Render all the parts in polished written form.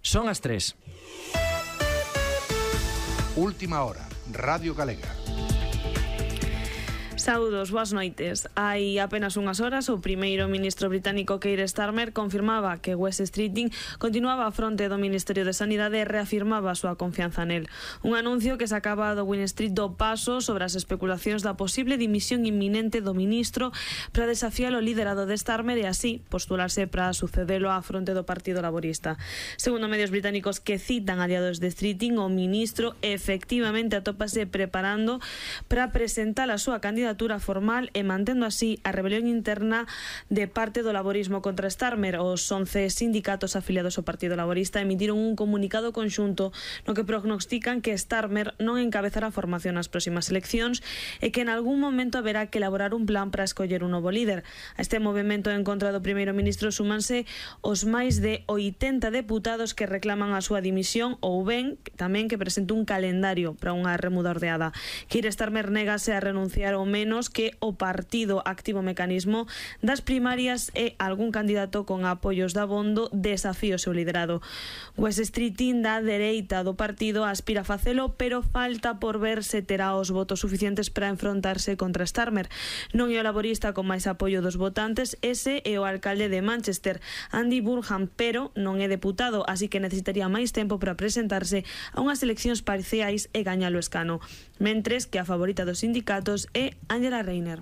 Son as 3. Última hora, Radio Galega. Saúdos, boas noites. Hai apenas unhas horas, o primeiro ministro británico Keir Starmer confirmaba que West Streeting continuaba a fronte do Ministerio de Sanidade e reafirmaba a súa confianza nel. Un anuncio que sacaba do Win Street do paso sobre as especulacións da posible dimisión inminente do ministro para desafiar o liderado de Starmer e así postularse para sucedelo á fronte do Partido Laborista. Segundo medios británicos que citan aliados de Streeting, o ministro efectivamente atópase preparando para presentar a súa candidatura formal e mantendo así a rebelión interna de parte do laborismo contra Starmer. Os 11 sindicatos afiliados ao Partido Laborista emitiron un comunicado conxunto no que prognostican que Starmer non encabezará a formación nas próximas eleccións e que en algún momento haberá que elaborar un plan para escoller un novo líder. A este movimento en contra do primeiro ministro súmanse os máis de 80 deputados que reclaman a súa dimisión ou ben tamén que presente un calendario para unha remuda ordeada. Keir Starmer negase a renunciar ao menos que o partido activo o mecanismo das primarias e algún candidato con apoios de abondo desafío o seu liderado. West Streeting, da dereita do partido, aspira a facelo, pero falta por ver se terá os votos suficientes para enfrontarse contra Starmer. Non é o laborista con máis apoio dos votantes, ese é o alcalde de Manchester, Andy Burnham, pero non é deputado, así que necesitaría máis tempo para presentarse a unhas eleccións parciais e gañar o escano. Mentres que a favorita dos sindicatos é Angela Rayner.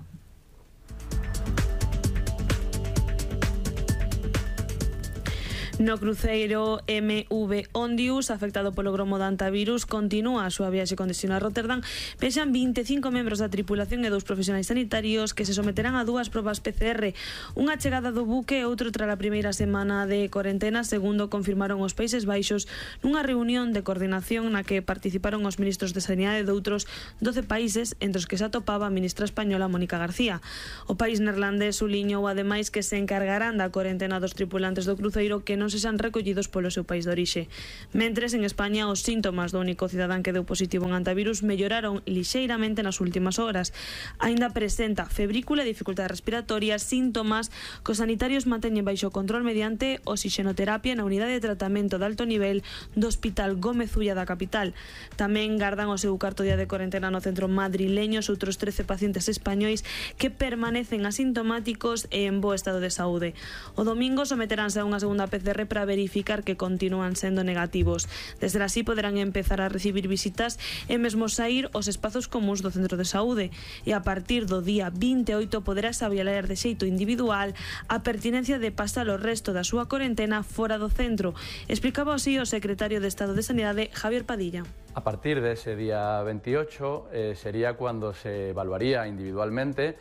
No cruceiro MV Ondius, afectado polo gromo de antivirus, continúa a súa viaxe con destino a Rotterdam. Vexan 25 membros da tripulación e 2 profesionais sanitarios que se someterán a 2 probas PCR. Unha chegada do buque e outro tras a primeira semana de cuarentena, segundo confirmaron os Países Baixos nunha reunión de coordinación na que participaron os ministros de Sanidade de outros 12 países, entre os que se atopaba a ministra española Mónica García. O país neerlandés suliñou ademais que se encargarán da cuarentena dos tripulantes do cruceiro que non se xan recollidos polo seu país de orixe. Mentres, en España, os síntomas do único cidadán que deu positivo en antivirus melloraron lixeiramente nas últimas horas. Aínda presenta febrícula e dificultade respiratoria, síntomas que os sanitarios manteñen baixo control mediante oxixenoterapia na unidade de tratamento de alto nivel do Hospital Gómez Ulla da capital. Tamén gardan o seu cuarto día de cuarentena no centro madrileño os outros 13 pacientes españois que permanecen asintomáticos e en bo estado de saúde. O domingo someteránse a unha segunda PCR para verificar que continúan sendo negativos. Desde así poderán empezar a recibir visitas e mesmo sair os espazos comuns do centro de saúde. E a partir do día 28 poderás avaliar de xeito individual a pertinencia de pasar o resto da súa cuarentena fora do centro. Explicaba así o secretario de Estado de Sanidade, Javier Padilla. A partir de ese día 28 sería cuando se evaluaría individualmente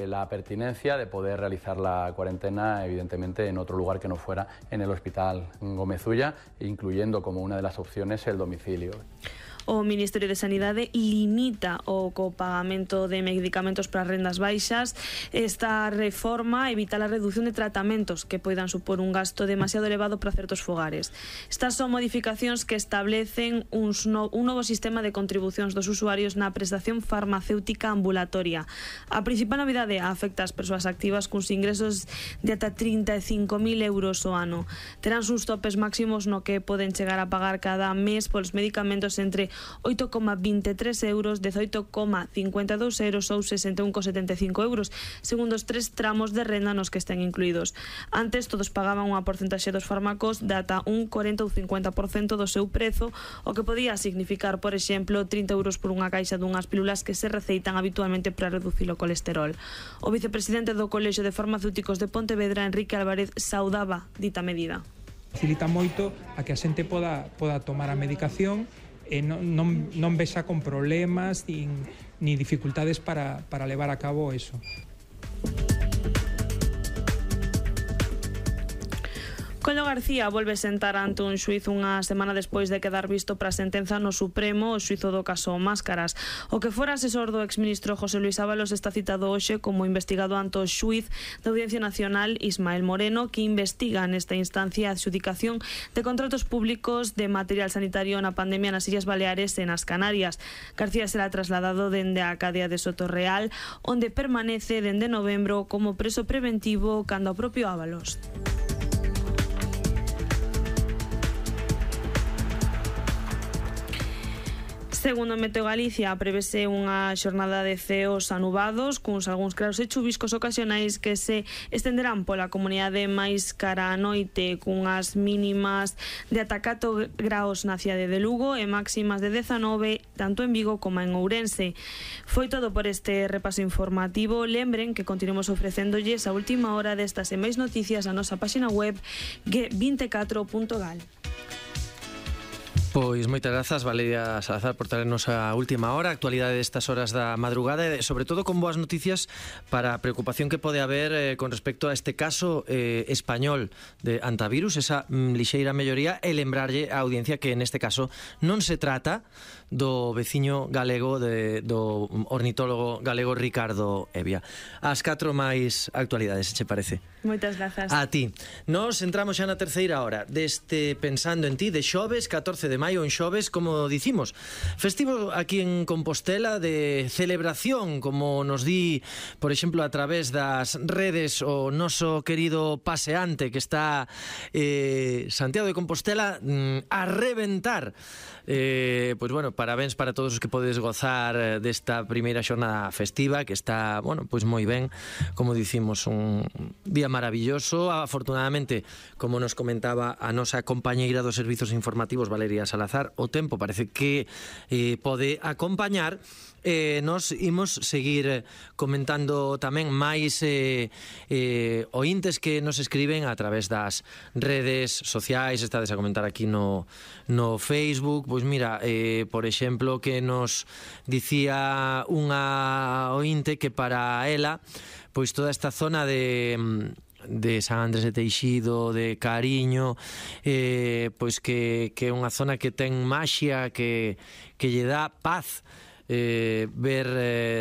la pertinencia de poder realizar la cuarentena, evidentemente en otro lugar que no fuera en el Hospital Gómez Ulla, incluyendo como una de las opciones el domicilio. O Ministerio de Sanidade limita o copagamento de medicamentos para rendas baixas. Esta reforma evita a reducción de tratamentos que poidan supor un gasto demasiado elevado para certos fogares. Estas son modificacións que establecen un novo sistema de contribucións dos usuarios na prestación farmacéutica ambulatoria. A principal novidade afecta as persoas activas cuns ingresos de ata 35.000 euros ao ano. Terán uns topes máximos no que poden chegar a pagar cada mes polos medicamentos entre 8,23 euros, 18,52 euros ou 61,75 euros, segundo os 3 tramos de renda nos que estén incluídos. Antes, todos pagaban unha porcentaxe dos fármacos de ata un 40 ou 50% do seu prezo, o que podía significar, por exemplo, 30 euros por unha caixa dunhas pílulas que se receitan habitualmente para reducir o colesterol. O vicepresidente do Colexio de Farmacéuticos de Pontevedra, Enrique Álvarez, saudaba dita medida. Facilita moito a que a xente poda tomar a medicación e non vexa con problemas ni dificultades para levar a cabo eso. Collo García volve sentar ante un xuíz unha semana despois de quedar visto para a sentenza no Supremo o xuízo do caso Máscaras. O que fora asesor do exministro José Luis Ábalos está citado hoxe como investigado ante o xuíz da Audiencia Nacional Ismael Moreno, que investiga nesta instancia a adxudicación de contratos públicos de material sanitario na pandemia nas Illas Baleares e nas Canarias. García será trasladado dende a cadea de Sotorreal, onde permanece dende novembro como preso preventivo cando o propio Ábalos. Segundo Meteo Galicia, prevese unha xornada de ceos anubados, cuns algúns claros e chuviscos ocasionais que se estenderán pola comunidade máis cara a noite, cunhas mínimas de ata 4 graus na cidade de Lugo e máximas de 19 tanto en Vigo como en Ourense. Foi todo por este repaso informativo. Lembren que continuamos ofrecéndolles a última hora destas e máis noticias na nosa página web g24.gal. Pois moitas grazas, Valeria Salazar, por traernos a última hora, a actualidade destas horas da madrugada e sobre todo con boas noticias para a preocupación que pode haber con respecto a este caso español de antivirus, esa lixeira melloría, e lembrarlle a audiencia que neste caso non se trata do veciño galego do ornitólogo galego Ricardo Evia. As 4 máis actualidades, se che parece? Moitas grazas. A ti. Nos entramos xa na terceira hora deste Pensando en Ti de xoves, 14 de maio, en xoves, como dicimos, festivo aquí en Compostela, de celebración, como nos di, por exemplo, a través das redes o noso querido paseante que está Santiago de Compostela a reventar. Pois bueno, parabéns para todos os que podes gozar desta primeira xornada festiva, que está, bueno, pois moi ben, como dicimos, un día maravilloso. Afortunadamente, como nos comentaba a nosa compañeira dos servizos informativos, Valeria Salazar, o tempo parece que pode acompañar. Nos imos seguir comentando tamén máis ointes que nos escriben a través das redes sociais. Estades a comentar aquí no Facebook. Pois mira, por exemplo, que nos dicía unha ointe que para ela, pois toda esta zona de San Andrés de Teixido, de Cariño, pois que é unha zona que ten maxia, que lle dá paz ver,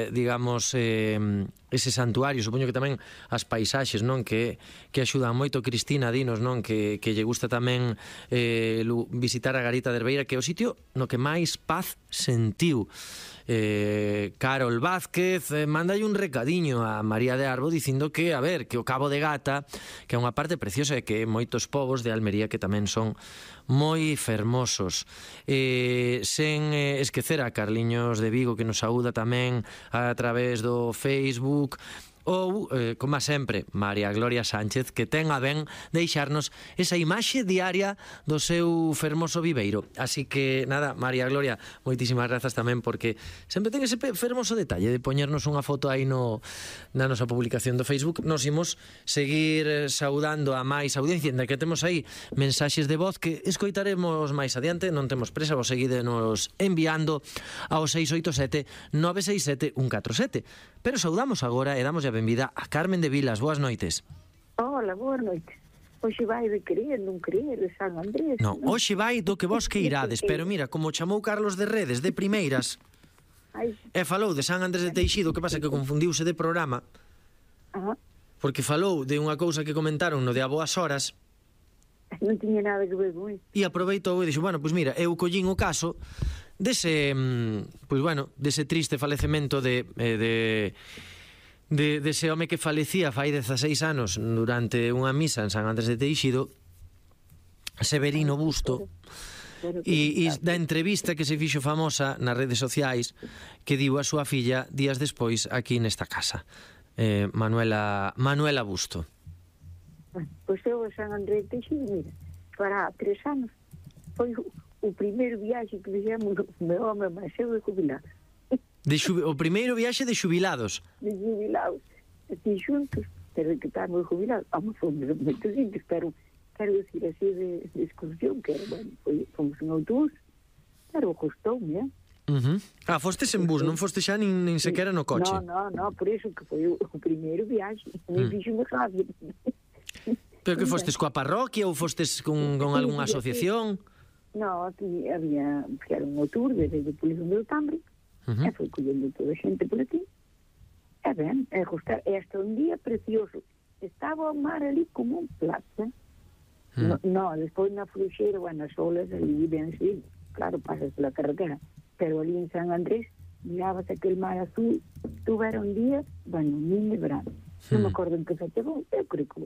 digamos, ese santuario. Supoño que tamén as paisaxes, non, que axudan moito. Cristina, dinos, non, que lle gusta tamén visitar a Garita de Herbeira, que é o sitio no que máis paz sentiu. Carol Vázquez mandalle un recadiño a María de Arbo dicindo que, a ver, que o Cabo de Gata, que é unha parte preciosa e que moitos povos de Almería que tamén son moi fermosos. Sen esquecer a Carliños de Vigo, que nos saúda tamén a través do Facebook. Ou, como sempre, María Gloria Sánchez, que ten a ben deixarnos esa imaxe diaria do seu fermoso viveiro. Así que, nada, María Gloria, moitísimas grazas tamén, porque sempre ten ese fermoso detalle de poñernos unha foto aí na nosa publicación do Facebook. Nos imos seguir saudando a máis audiencia, ainda que temos aí mensaxes de voz que escoitaremos máis adiante. Non temos presa, vos seguidenos enviando ao 687 967 147. Pero saudamos agora e damos a benvida a Carmen de Vilas. Boas noites. Hola, boas noites. Hoxe vai de querer, non querer, de San Andrés. Non, hoxe vai do que vos que irades, pero mira, como chamou Carlos de Redes de primeiras, e falou de San Andrés de Teixido, que pasa que confundiuse de programa, porque falou de unha cousa que comentaron no de A Boas Horas, non tiña nada que ver con isso. E aproveitou e dixo, bueno, pois mira, eu collín o caso dese, pois bueno, dese triste falecemento de ese home que falecía fai 16 anos durante unha misa en San Andrés de Teixido, Severino Busto, e da entrevista que se fixo famosa nas redes sociais que diu a súa filla días despois aquí nesta casa, Manuela Busto. Pois eu a San Andrés de Teixido, mira, para 3 anos foi o primeiro viaxe que fixemos o meu home máis eu de jubilado. O primeiro viaxe de xubilados? De xubilados, así xuntos, pero que estamos jubilados. Fomos moitos indios, pero quero decir así de excursión, que era, bueno, fomos en autobús, pero costoume, fostes en bus, non fostes xa nin sequera no coche? No, por iso que foi o primeiro viaxe, nem fixo-me rápido. Pero que fostes coa parroquia ou fostes con algunha asociación? No, había, que era un tour desde o Polizo de Tambre, e foi collendo toda a xente por aquí. E ben, é hasta un día precioso. Estaba o mar ali como un plato. No, despois na Fruxeira, bueno, as olas ali, ben, sí, claro, pasas pola carretera, pero ali en San Andrés, mirábase aquel mar azul, tuve un día, bueno, nin de verano. Non me acordo en que fecha, eu creo que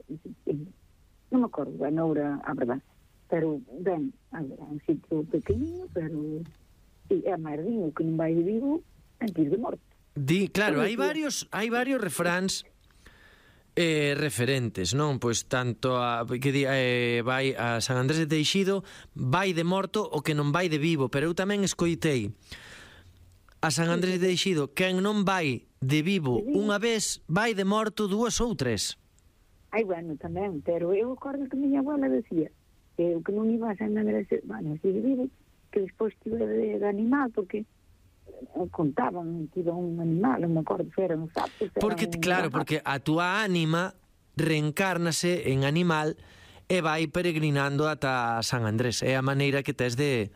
non me acordo, bueno, ahora, a verdade. Pero, ben, a ver, un sitio pequeniño, pero E a máis din, o que non vai de vivo, antes de morto. Claro, hai varios refráns referentes, non? Pois tanto vai a San Andrés de Teixido, vai de morto o que non vai de vivo, pero eu tamén escoitei a San Andrés de Teixido, quen non vai de vivo unha vez, vai de morto dúas ou tres. Ai, bueno, tamén, pero eu acordo que miña abuela decía que o que non iba a San Andrés, bueno, así de vivo, que despois tive de animal, porque contaban que iba un animal, non me acordo se eran os sapos. Porque, claro, porque a túa ánima reencárnase en animal e vai peregrinando ata San Andrés. É a maneira que tes de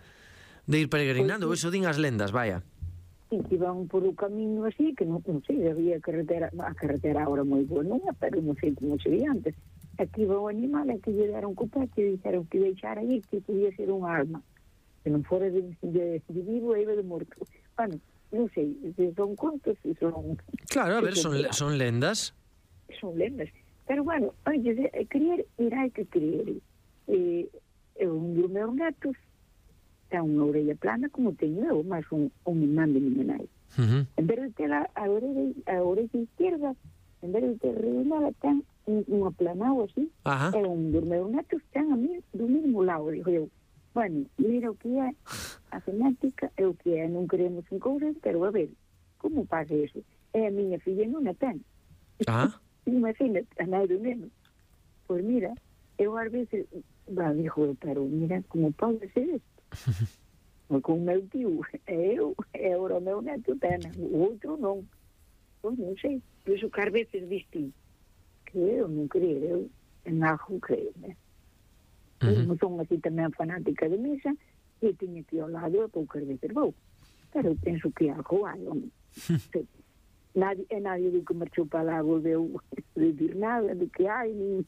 ir peregrinando. Eso din as lendas, vaya. Sí, que iban por o camiño así, que non sei, había carretera, a carretera ahora moi boa, non é, pero non sei como sería antes. Aquí iba o animal, aquí lle deron copete e dixeron que deixara aí, que podía ser un alma. Que non fora de vivo e iba de morto. Bueno, non sei, se son contos, se son... Claro, a ver, son lendas. Son lendas. Pero, bueno, oye, creer, irá que creer. Un dos meus netos ten unha orella plana como teño eu, máis un irmán de miña nai. En vez de ter a orella izquierda, en vez de ter redonda, ten unha planao así. E un dos meus netos ten a mí do mesmo lado, digo eu. Bueno, mira o que é a genética, é o que é, non queremos en cousas, pero a ver, como pasa eso? É a miña filla non a ten. Imagina, a nai do neno. Pois mira, eu ás veces, digo, pero mira, como pode ser isto? Con o meu tío, eu, e agora o meu neto ten, o outro non. Pois non sei, por iso que ás veces viste, creo, non creo, eu en algo creo, né? Non son así tamén fanática de misa, e teño que ir ao lado e poucas veces vou. Pero penso que algo hai, homem. Nadie do que marchou para lá volveu de dir nada, de que hai, nin...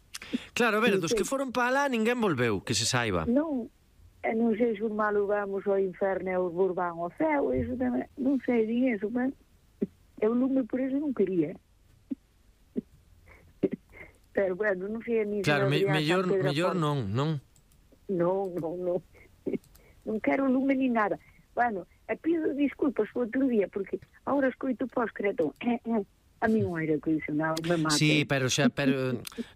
Claro, a ver, dos que foron para lá ninguén volveu, que se saiba. Non sei se os malos vamos ao inferno e os bons van ao céu, eso tamén, non sei, din eso, mas eu lume por eso non quería. Pero, bueno, non sei a mí... Claro, mellor non. Non. Non quero lume ni nada. Bueno, pido disculpas o outro día, porque agora escoito pós-creto. A mí un aire acondicionado me mata. Sí, pero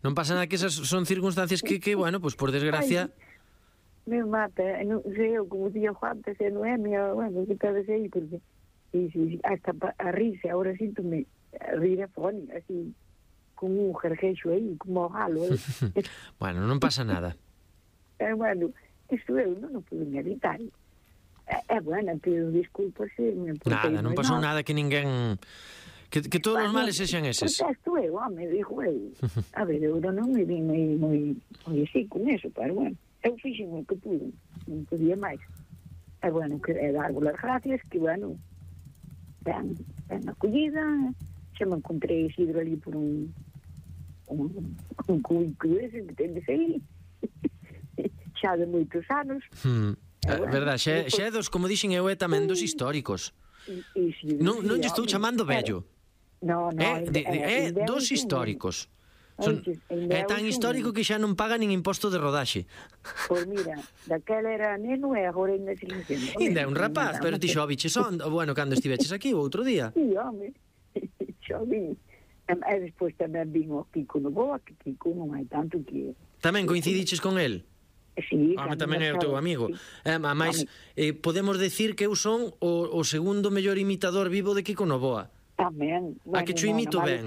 non pasa nada, que esas son circunstancias que bueno, pues por desgracia... Me mata, non sei eu, como día Juan, se non é minha, bueno, que tal vez aí, porque hasta a risa, agora síntome a rir a fónica, así, con un jerjeixo aí, como o galo. Bueno, non pasa nada. Bueno, isto eu non pude me evitar. Bueno, pido disculpas se me portei. Nada, non pasou nada que ninguén... Que todos os males sexan eses. Protesto eu, home, dijo eu. A ver, eu non me vim moi así con eso, pero bueno, eu fixen o que pude, non podía máis. Bueno, que é dar as gracias, que bueno, ben acollida, xa me encontrei Isidro ali por un cubículo ese que ten de sair, xa de moitos anos. Verdad, xa é dos, como dixen eu, é tamén dos históricos. Non lle estou chamando vello. É dos históricos. É tan histórico que xa non paga nin imposto de rodaxe. Pois mira, daquela era neno e agora ainda se licencia. Ainda é un rapaz, pero ti xa o biches bueno, cando estiveches aquí o outro día. Sí, home, xa vin. E despois tamén vin o Kiko Novoa, que Kiko non hai tanto que... Tamén coincidiches con el? Sí, tamén é o teu amigo. Ademais, podemos decir que eu son o segundo mellor imitador vivo de Kiko Novoa. Tamén. A que cho imito ben.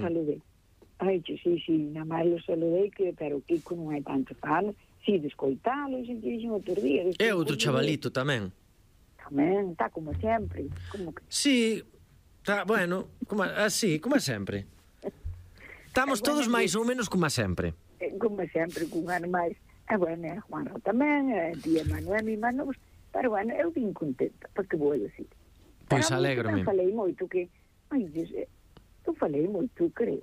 Ai, sí, na máis lo saludei, pero Kiko non hai tanto falo. Si, de escoitalo, se te dixen outro día. É outro chavalito tamén. Tamén, está como sempre. Sí, está, bueno, como sempre. Estamos todos máis ou menos como sempre. Como sempre, con ano máis. Bueno, a Juanra tamén, a tía Manuel, mi mano, pero bueno, eu vim contenta, porque vou decir. Pois alégrome. Eu falei moito que, eu falei moito, creo.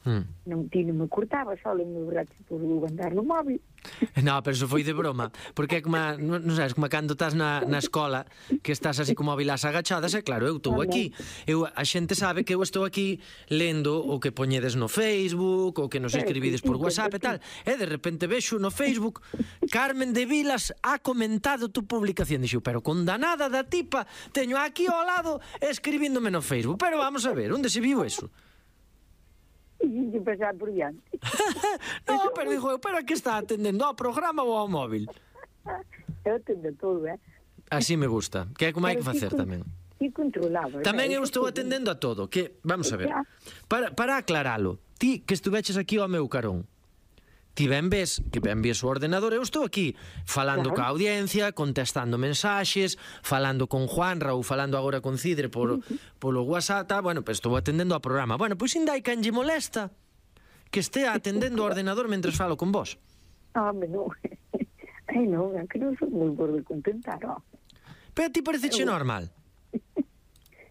Ti non me cortaba, só me brache por andar no móvil. No, pero eso foi de broma, porque é como, non sabes, como cando estás na escola, que estás así como móvil as agachadas, e claro, eu estou aquí, a xente sabe que eu estou aquí lendo o que poñedes no Facebook, o que nos escribides por WhatsApp e tal, e de repente vexo no Facebook Carmen de Vilas ha comentado tu publicación, dixo, pero condanada da tipa, teño aquí ao lado escribíndome no Facebook, pero vamos a ver, onde se viu eso? E pasar por diante. No, pero digo, pero a que está atendendo, ao programa ou ao móvil? Eu atendo todo, Así me gusta, que é como hai que facer tamén. E controlaba. Tamén eu estou atendendo a todo, que, vamos a ver, para aclaralo, ti que estuveches aquí ao meu carón, ti ben ves que ben ves o ordenador, eu estou aquí falando coa audiencia, contestando mensaxes, falando con Juanra ou falando agora con Cidre polo WhatsApp, bueno, pues estou atendendo ao programa. Bueno, pois ainda hai quen lle molesta que estea atendendo o ordenador mentre falo con vos. Home, non. Ai, non, é que non sou moi por de contentar, ó. Pero a ti pareceche normal?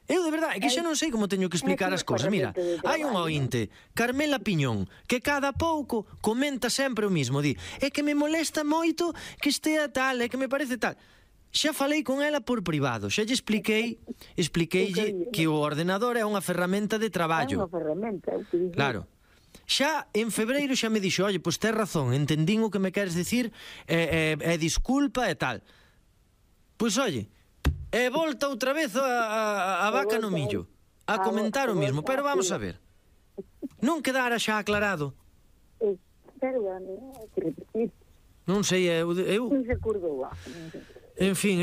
Eu, de verdade, é que xa non sei como teño que explicar as cousas. Mira, hai un ointe, Carmela Piñón, que cada pouco comenta sempre o mismo. Di, é que me molesta moito que estea tal, é que me parece tal. Xa falei con ela por privado, xa lle expliqueille que o ordenador é unha ferramenta de traballo. É unha ferramenta, é o que digo. Claro. Xa en febreiro xa me dixo, oye, pois tes razón, entendín o que me queres dicir, disculpa e tal. Pois, oye, e volta outra vez a vaca no millo a comentar o mismo, pero vamos a ver, non quedara xa aclarado? Perdón, hai que repetir. Non sei, eu Non se acordou, en fin,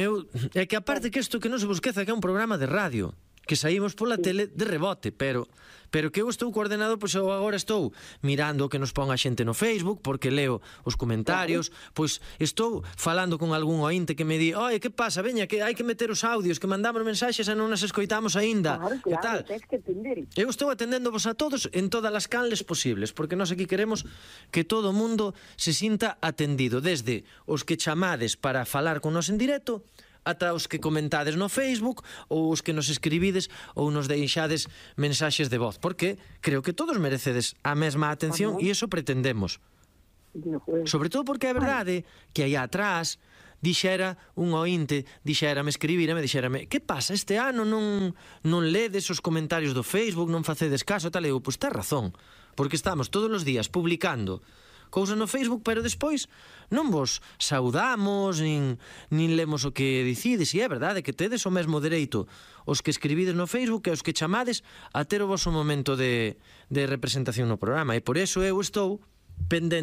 é que aparte que isto que non se vos esqueza que é un programa de radio, que saímos pola tele de rebote, pero que eu estou coordenado, pois eu agora estou mirando o que nos pon a xente no Facebook, porque leo os comentarios, pois estou falando con algún ointe que me di, oi, que pasa, veña, que hai que meter os audios, que mandamos mensaxes e non nas escoitamos aínda, e tal. Tens que atender. Eu estou atendéndovos a todos en todas as canles posibles, porque nós aquí queremos que todo o mundo se sinta atendido, desde os que chamades para falar con nos en directo, ata os que comentades no Facebook ou os que nos escribides ou nos deixades mensaxes de voz, porque creo que todos merecedes a mesma atención e iso pretendemos. Sobre todo porque é verdade que aí atrás dixera un ointe, dixérame, dixérame, que pasa, este ano non ledes os comentarios do Facebook, non facedes caso, tal, e eu, pois tes razón, porque estamos todos os días publicando cousas no Facebook, pero despois non vos saudamos, nin lemos o que dicides, e é verdade que tedes o mesmo dereito os que escribides no Facebook e os que chamades a ter o vosso momento de representación no programa, e por eso eu estou pendente